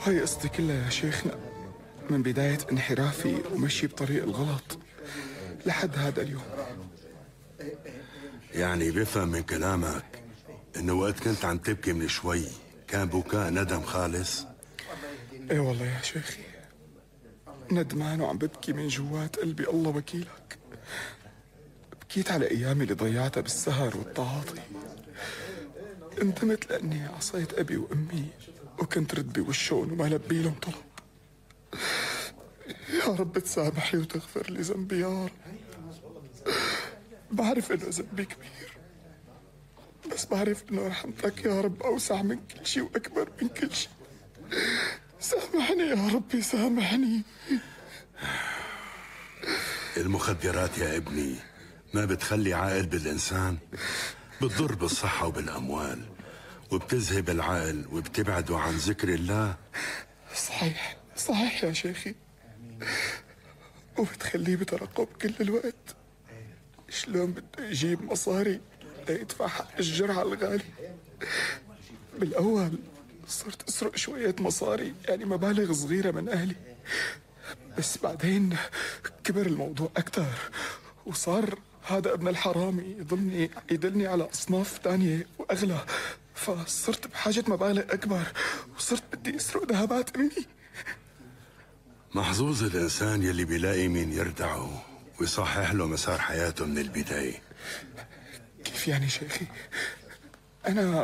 هاي قصتي كلها يا شيخنا، من بداية انحرافي ومشي بطريق الغلط لحد هذا اليوم. يعني بفهم من كلامك انه وقت كنت عم تبكي من شوي كان بكاء ندم خالص؟ ايه والله يا شيخي، ندمان وعم ببكي من جوات قلبي، الله وكيلك. بكيت على ايامي اللي ضيعتها بالسهر والتعاطي. ندمت لاني عصيت ابي وامي وكنت رد بوشهم وما لبي لهم طلب. يا رب تسامحني وتغفر لي ذنبي يا رب. بعرف انه ذنبي كبير، بس بعرف انه رحمتك يا رب اوسع من كل شيء واكبر من كل شيء. سامحني يا ربي، سامحني. المخدرات يا ابني ما بتخلي عائل بالإنسان، بتضر بالصحة وبالأموال وبتذهب العقل وبتبعده عن ذكر الله. صحيح صحيح يا شيخي، وبتخليه بترقب كل الوقت. شلون بده يجيب مصاري ليدفع حق الجرعة الغالي؟ بالأول صرت أسرق شوية مصاري، يعني مبالغ صغيرة من أهلي، بس بعدين كبر الموضوع أكتر وصار هذا ابن الحرامي يدلني على أصناف تانية وأغلى، فصرت بحاجة مبالغ أكبر وصرت بدي أسرق ذهبات أمي. محظوظ الإنسان يلي بيلاقي مين يردعه ويصحح له مسار حياته من البداية. كيف يعني شيخي؟ أنا